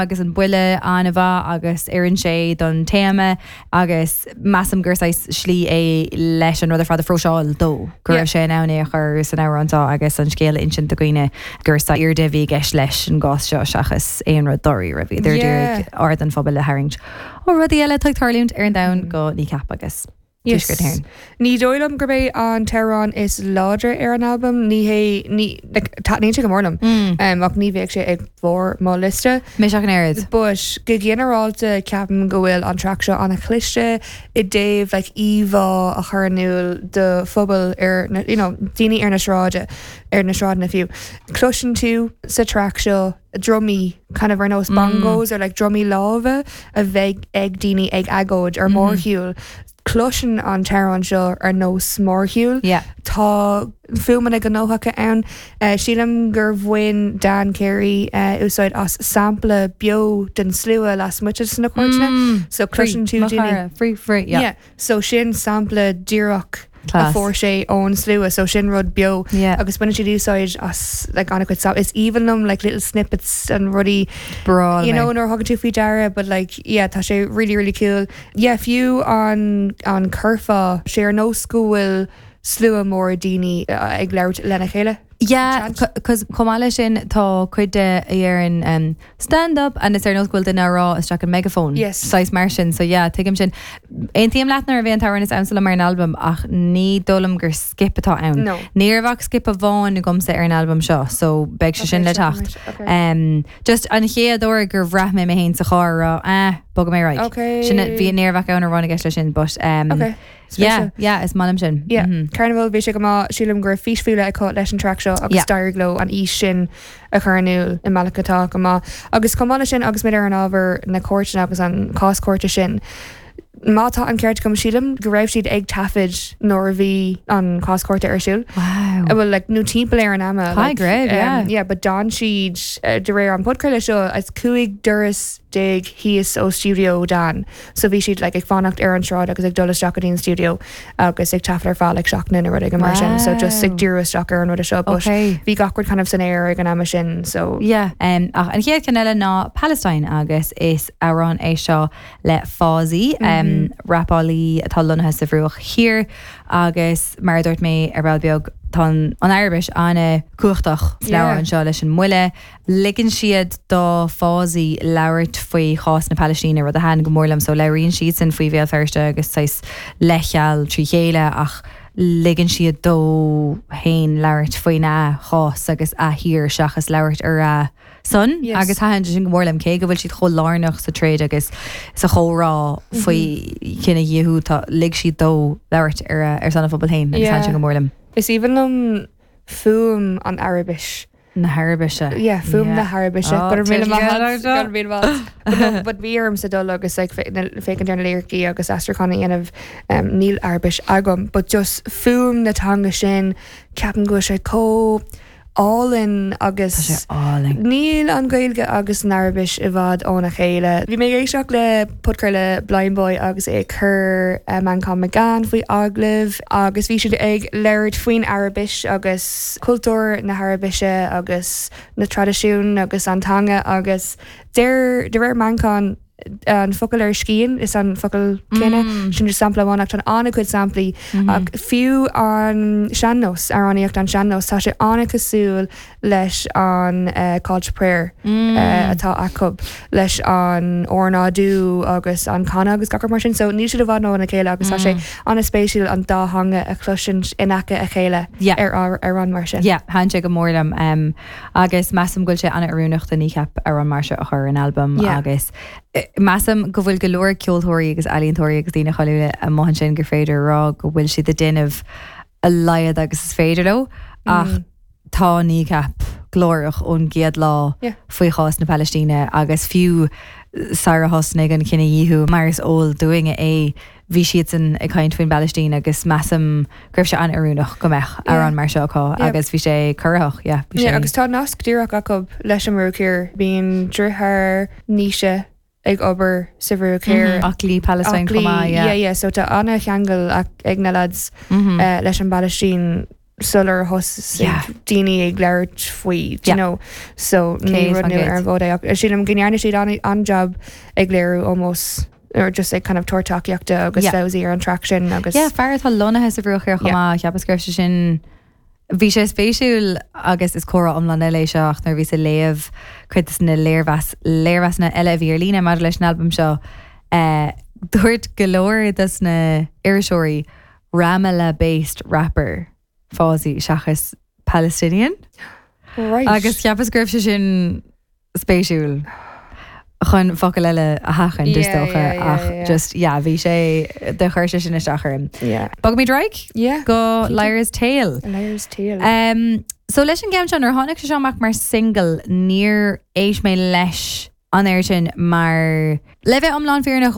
Agus an buille an-mhaith agus oireann sé don téama agus measaim gur saghas slí é leis an rud ar fad a phróiseáil dó, go raibh sé in ann é a chur san amhrán seo agus an scéal a insint do dhaoine gur saghas airde a bhí i gceist leis an gcás seo seachas aon rud dáiríre. Bhíodar ag iarraidh aird an phobail a tharraingt ó rudaí eile atá ag tarlúint ar an domhan go Kneecap agus. Yes. Tuaisceart na hÉireann. Ní dóigh liom gurb é an t-amhrán is láidre ar an albam. Ní hé, ní, like, taitníonn sé go mór liom. Um, ach ní bheadh sé ag barr mo liosta. Mise ach an oiread. But go ginearálta ceapaim go bhfuil an track seo an-chliste i dtaobh like, íomhá a chur in iúl do phobal ar na, you know, daoine ar na sráide, ar na sráideanna fiú. Cloiseann tú sa track seo drumaí kind of ar nós bongos or like drumaí láimhe a bheidh ag daoine ag agóid ar mórshiúl. Cloiseann an t-amhrán seo ar nós mórshiúl. Yeah. Tá fuaimeanna gnóthacha ann. Sílim gur bhain Dan Carey úsáid as sampla beo den slua lasmuigh de na cúirteanna. So cloiseann tú daoine. Free, free, yeah. Yeah. So sin sampla díreach a Class. fuair sé ón slua, so sin rud beo. Yeah. Agus baineann siad úsáid as like an-chuid sam- is aoibhinn liom like little snippets and rudaí Breá you liom know é. nuair a thugann tú faoi deara but like yeah tá sé really really cool. Yeah fiú an an curfá sé ar nós go bhfuil slua mór daoine ag labhairt lena chéile. Yeah, Chant. cos chomh maith leis sin tá cuid de a dheireann um, Stand up! And is ar nós go bhfuil duine á rá isteach an megaphone. Yes. Saghas mar sin, so yeah, tuigim sin. Aontaím leat nárbh é an t-amhrán is ansa liom ar an albam ach ní dóigh liom gur skip atá ann. No. Ní raibh ach skip amháin agamsa ar an albam seo, so beidh sé Okay, sin le seo teacht. right, okay. Um, just an chéad uair gur bhraith mé mé féin sa charr ag rá, eh, bogfaidh mé ar aghaidh. Okay. Sin, bhí ní raibh ach amhrán amháin i gceist leis sin, but um, Okay. Yeah, Spéisiúil. yeah, is maith liom sin. Yeah, Carnival, bhí sé go maith, sílim go raibh fís faoi leith acu leis an track seo agus Yeah. d'éirigh leo an fhís sin a chur in iúl i mbealach atá go maith. Agus chomh maith leis sin, agus muid ar an ábhar na cúirteanna agus an cás cúirte sin, má tá an ceart agam, sílim go raibh siad ag taifead nuair a bhí an cás cúirte ar siúl. Wow. Well, like, nó timpeall ar an ama. Caithfidh like, go raibh, yeah. Um, yeah, but d'fhan siad, eh, de réir an podchraoladh seo, as 15 doras thíos ó stiúideo Dan. So bhí siad like ag fanacht ar an sráid agus ag dul isteach go dtí an stiúideo agus ag taifead ar feadh like seachtaine nó rud éigin mar sin. So just ag díriú isteach ar an rud seo. But Okay. bhí gach rud kind of san aer ag an ama sin. So Yeah. Um, ach an chéad cheann eile ná Palestine agus is amhrán é seo le Fawzi, um, rapálaí atá lonnaithe sa Bhruach Thiar agus mar a dúirt mé ar ball beag tá an an Araibis an-chumhachtach san Yeah. amhrán seo leis an mbuille. Ligeann siad do Fawzi labhairt faoi chás na Palaistíne, rud a thaitin go mór liom. So labhraíonn siadsan faoi Bhéal Feirste agus saghas leithcheal trí chéile ach ligeann siad dó féin labhairt faoina chás agus a thír seachas labhairt ar a son. Yes. Agus thaitin sé sin go mór liom, cé go bhfuil siad chomh lárnach sa troid agus sa chomhrá faoi chinedhíothú, tá, lig siad dó labhairt ar a, ar son a phobail féin agus thaitin Yeah. sin go mór liom. Is aoibhinn liom fuaim an Araibis. Na hAraibise. Yeah, fuaim na hAraibise. Oh, Go raibh míle maith tuigim agat, seo. go raibh míle maith agat. But no, but bhí ormsa dul agus like fé- na- féachaint ar na liricí agus aistriúchán a dhéanamh. Um, níl Araibis agam, but just fuaim na teanga sin, ceapaim go bhfuil sé chomh álainn agus Tá sé álainn. Níl an Ghaeilge agus an Araibis i bhfad óna chéile. Bhí mé ag éisteacht le podchraoladh Blindboy agus é ag cur eh, Manchán Magan faoi agallamh agus bhí siad ag labhairt faoin Araibis agus cultúr na hAraibise agus na traidisiúin agus an teanga agus deir, de réir Manchán, an focal ar scian is an focal céanna, sin just sampla amháin ach tá an-chuid samplaí ach fiú an sean-nós, amhránaíocht an sean-nós, tá sé an-chosúil leis an call to prayer atá acu, leis an ornáidiú agus an canadh agus gach rud mar sin. So níl siad i bhfad óna chéile agus tá sé an-spéisiúil an dá theanga a chloisint in aice a chéile ar amhrán mar sin. Yeah, thaitin sé go mór liom agus measaim go bhfuil sé an-oiriúnach do Kneecap amhrán mar seo a chur ar an albam agus measaim go bhfuil go leor ceoltóirí agus ealaíontóirí agus daoine cáiliúla amuigh ansin gur féidir a rá go bhfuil siad ag déanamh a laghad agus is féidir leo ach tá Kneecap glórach ón gcéad lá faoi chás na Palaistíne agus fiú sara thosnaigh an cinedhíothú mar is eol dúinne é bhí siadsan ag caint faoin bPalaistín agus measaim go raibh sé an-oiriúnach go mbeadh amhrán mar seo acu agus bhí sé corraitheach, yeah, bhí sé. Agus tá nasc díreach acu leis an mBruach Thiar. Bíonn deartháir Naoise ag obair sa Bhruach Thiar. Aclaí Palestine chomh maith, yeah. Yeah, yeah, so tá an-cheangal ag na lads leis an bPalaistín. sular thosaigh daoine ag labhairt faoi, do you know, so ní rud nua ar an bhfód é ach sílim go ndearna siad an-jab ag léiriú ómós or just ag kind of tabhairt tacaíochta agus Fawzi ar an track sin agus. Yeah, fear atá lonnaithe sa Bhruach Thiar chomh maith, cheapas go raibh sé sin, bhí sé spéisiúil agus is comhrá iomlán eile é seo ach nuair a bhíos ag léamh cuid de na léirmheas, léirmheasanna eile a bhí ar líne maidir leis an albam seo, dúirt go leor dos na iriseoirí Ramallah based rapper Fawzi seachas Palestinian. Right. Agus cheapas go raibh sé sin spéisiúil chun focal eile a sheachaint is dócha ach just yeah bhí sé do chuir sé sin isteach orm. Yeah. Bogfaimid ar aghaidh? Yeah. Go Liar's Tale. Liar's Tale. Um, so leis an gceann seo nuair a tháinig sé seo amach mar single níor éist mé leis an oiread sin mar le bheith iomlán fírinneach.